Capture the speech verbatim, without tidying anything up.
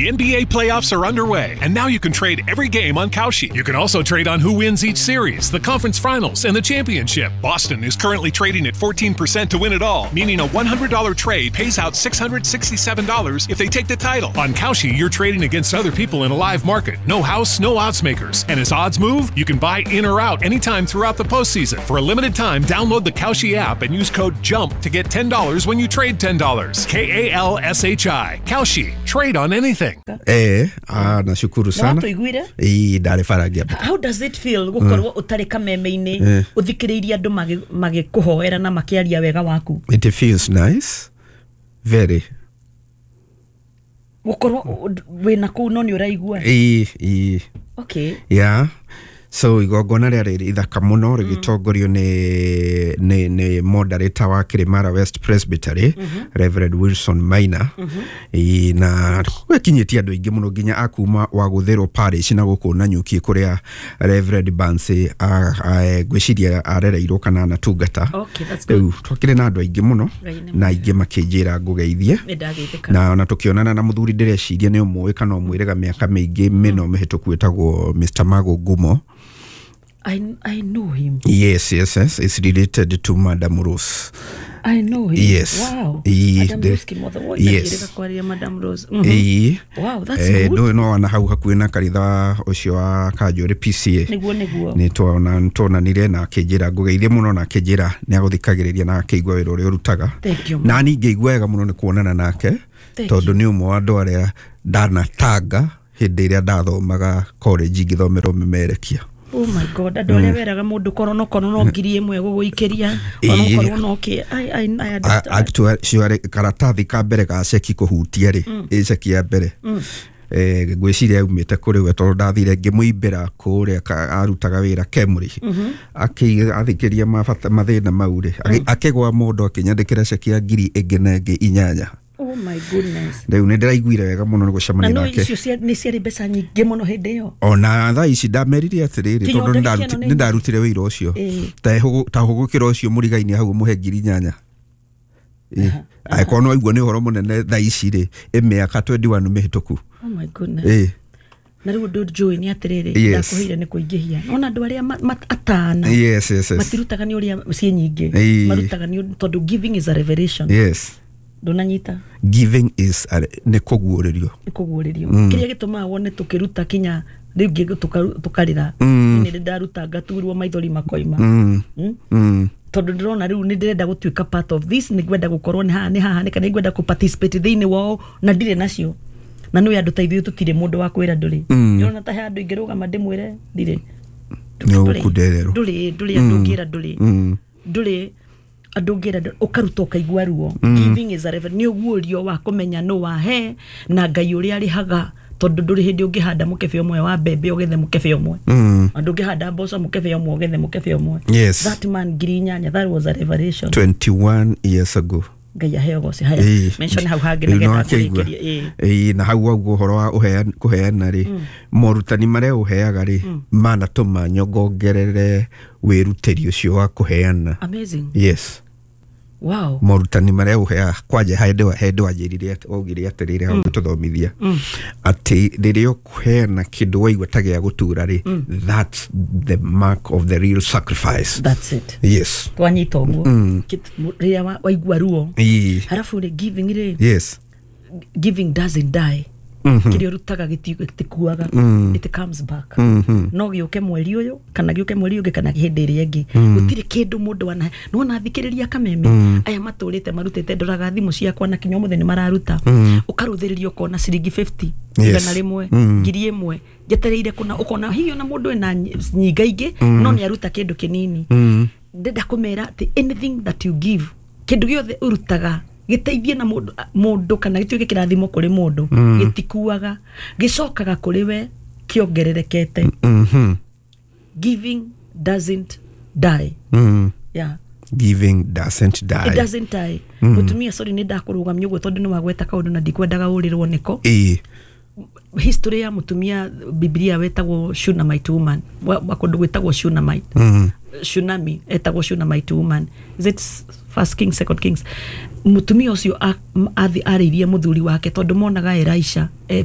The N B A playoffs are underway, and now you can trade every game on Kalshi. You can also trade on who wins each series, the conference finals, and the championship. Boston is currently trading at fourteen percent to win it all, meaning a one hundred dollar trade pays out six hundred sixty-seven dollars if they take the title. On Kalshi, you're trading against other people in a live market. No house, no odds makers. And as odds move, you can buy in or out anytime throughout the postseason. For a limited time, download the Kalshi app and use code JUMP to get ten dollars when you trade ten dollars. K A L S H I. Kalshi. Trade on anything. Eh, ah, nashukuru Na sana. Watũiguire? Ĩĩ, ndarĩ bara ngĩambata. How does it feel gũkorwo ũtarĩ kameme-inĩ, ũthikĩrĩirie andũ magĩ- magĩkũhoera na makĩaria wega waku? It feels nice, very. Gũkorwo wĩna kũu no nĩ ũraigua? Ĩĩ, ĩĩ. Okay. Yeah, so igongona rĩarĩ ithaka mũno, rĩgĩtongorio nĩ nĩ nĩ moderator wa Kirimara West Presbytery, Reverend Wilson Maina. Ĩĩ, na gwekinyĩtie andũ aingĩ mũno, nginya akuma wa Gũthĩrwo Parish na gũkũ Nanyuki, kũrĩa Reverend Bansi ngwĩciria arereirwo kana anatungata. Okay, that's good. Rĩu twakĩrĩ na andũ aingĩ mũno Ngai nĩ na aingĩ makĩnjĩra ngũgeithie. Nĩ ndageithĩka. Na ona tũkĩonana na mũthuri ndĩreciria nĩ ũmũĩ kana ũmwĩrĩga, mĩaka mĩingĩ mĩno mĩhĩtũku, ĩtagwo Mister Mago Ngumo. I, I know him. yes yes yes it's related to Madam Rose. I know him. Yes. Wow. Ĩĩ, Madam the- Rose Kimotho. Woi, Yes. ndakĩrĩga kwaria Madam Rose. Mhm. Ĩĩ. Wow, that's Eh, good. ndũĩ no wana hau hakuhĩ na kanitha ũcio wa Kanjũrĩ P C A. Nĩguo, nĩguo. Nĩ twona tuonanire na akĩnjĩra ngũgeithie mũno, na akĩnjĩra nĩ agũthikagĩrĩria na akĩigua wĩra ũrĩa ũrutaga. Thank you. Na niĩ ngĩigua wega mũno nĩ kuonana nake, Thank tondũ nĩ ũmwe wa andũ arĩa ndanatanga hĩndĩ ĩrĩa ndathomaga college ngĩthomera ũmemerekia. Oh my God, andũ arĩa weraga mũndũ korwo no korwo no ngiri ĩmwe gũgũikĩria, Ĩĩ. onokorwo no kĩ. I, I, I understand. Actually, karatathi ka mbere ga ceki kũhutia rĩ, ĩ ceki ya mbere, eh, ngwĩciria yaumĩte kũrĩ we, tondũ ndathire ngĩmũimbĩra kũrĩa ka- arutaga wĩra Kemri, athikĩria mabata mathĩna mau rĩ, agĩ- akĩgwa mũndũ akĩnyandĩkĩra ceki ya ngiri ĩngĩ na ĩngĩ inyanya. Oh my goodness. Rĩu nĩ ndĩraiguire wega mũno nĩ Na gũcemania no nake. Icio cia- nĩ ciarĩ mbeca nyingĩ mũno hĩndĩ ĩyo. Ona thaa ici ndamerire atĩrĩrĩ, Kinya tondũ ndagĩka nĩ ĩno nĩ nĩ ndarutire wĩra ũcio, Ĩĩ. ta hũgũ- ta hũgũkĩra ũcio mũrigaini hau mũhe ngiri inyanya. Ĩ, angĩkorwo nĩ waigua nĩ ũhoro mũnene thaa ici rĩ, ĩ mĩaka mĩrongo ĩĩrĩ na ĩmwe mĩhĩtũku. Oh my goodness. Ĩ. Na rĩu ũndũ njũĩ nĩ atĩrĩrĩ, Yes. ndakũheire nĩ kũingĩhia nona andũ arĩa ma- ma- atana yes yes yes matirutaga nĩ ũrĩa ciĩ nyingĩ, Ĩĩ. marutaga nĩ ũndũ- tondũ giving is a revelation. Yes ndũnanyita? Giving is a, nĩ kũguũrĩrio. Nĩ kũguũrĩrio. Kĩrĩa gĩtũmaga wone tũkĩruta kinya rĩu ngĩ tũkarĩra, nĩ ndaruta ngaturwo maithori makoima. mm. Mm? Mm. Tondũ ndĩrona rĩu nĩ ndĩrenda gũtuĩka part of this, nĩ ngwenda gũkorwo nĩ haha, nĩ haha, nĩ kana nĩ ngwenda kũ participate thĩinĩ wao na ndirĩ nacio. Na nĩ andũ ta ithuĩ tũtirĩ mũndũ wa kwĩra ndũrĩ. Ndĩrona ta he andũ ingĩrũgama ndĩmwĩre ndirĩ. Nĩ ũgũkundererwo. Ndũrĩ, ndũrĩ andũ ũngĩra ndũrĩ. Mm. Ndũrĩ andũ ũngĩra ndũrĩ, ũkaruta ũkaigua ruo. Giving is a revel- nĩ ũguũrio wa kũmenya nũ wahe na Ngai ũrĩa arĩhaga, tondũ ndũrĩ hĩndĩ ũngĩhanda mũkebe ũmwe wa mbembe ũgethe mũkebe ũmwe, Mm. na ndũngĩhanda mboco mũkebe ũmwe ũgethe mũkebe ũmwe. Yes. That man ngiri inyanya, that was a revelation. twenty-one years ago. Ngai aheo goci. Haya, Ĩĩ. mention hau hangĩ Rĩu nĩgetha no akĩigua. ngũrĩkĩrie. Ĩĩ. Ĩĩ, na hau waguo ũhoro wa ũhean- kũheana rĩ, morutani marĩa ũheaga rĩ, manatũma nyongongerere wĩrutĩri ũcio wa kũheana. Amazing. Yes. Wow. Morutani marĩa ũheaga kwanja, hĩndĩ hĩndĩ wanjĩrire atĩ- waugire atĩrĩrĩ hau tũthomithia atĩ rĩrĩa ũkũheana kĩndũ waigua ta gĩa gũtura rĩ, that's the mark of the real sacrifice. That's it. Yes. Twanyita ũguo. Kit- rĩrĩa wa- waigua ruo. Ĩĩ. Harafu rĩ, giving rĩ, yes giving doesn't die. Kĩrĩa ũrutaga gĩti- gĩtikuaga, it comes back. No gĩũke mweri ũyũ kana gĩũke mweri ũngĩ kana hĩndĩ ĩrĩa ĩngĩ, gũtirĩ kĩndũ mũndũ anahe. Nĩwona thikĩrĩria kameme aya matũrĩte marutĩte, ndoraga thimũ ciakwa na kinya ũmũthĩ nĩ mararuta, ũkarũthĩrĩria ũkona ciringi mĩrongo ĩtano, Yes. igana rĩmwe, ngiri ĩmwe njetereire kũna, ũkona hihi ona mũndũ ena nyinga ingĩ no nĩ aruta kĩndũ kĩnini. Ndenda kũmera atĩ anything that you give, kĩndũ gĩothe ũrutaga gĩteithie na mũndũ mũndũ kana gĩtuĩke kĩrathimo kũrĩ mũndũ, gĩtikuaga, gĩcokaga kũrĩ we kĩongererekete. Mhm. Giving doesn't die. Mm. Yeah. Giving doesn't die. It doesn't die. Mũtumia, sorry, nĩ ndakũrũgamia ũguo tondũ nĩ wagweta kaũndũ na ndikwendaga ũrĩrwo nĩko. Ĩĩ. History ya mũtumia Biblia wetagwo Shunammite woman, wa wa kũndũ gwĩtagwo Shunammite, Mm. Shunami, etagwo Shunammite woman. Is it First Kings, Second Kings? Mũtumia ũcio a- athi arĩirie mũthuri wake tondũ monaga Elisha eh,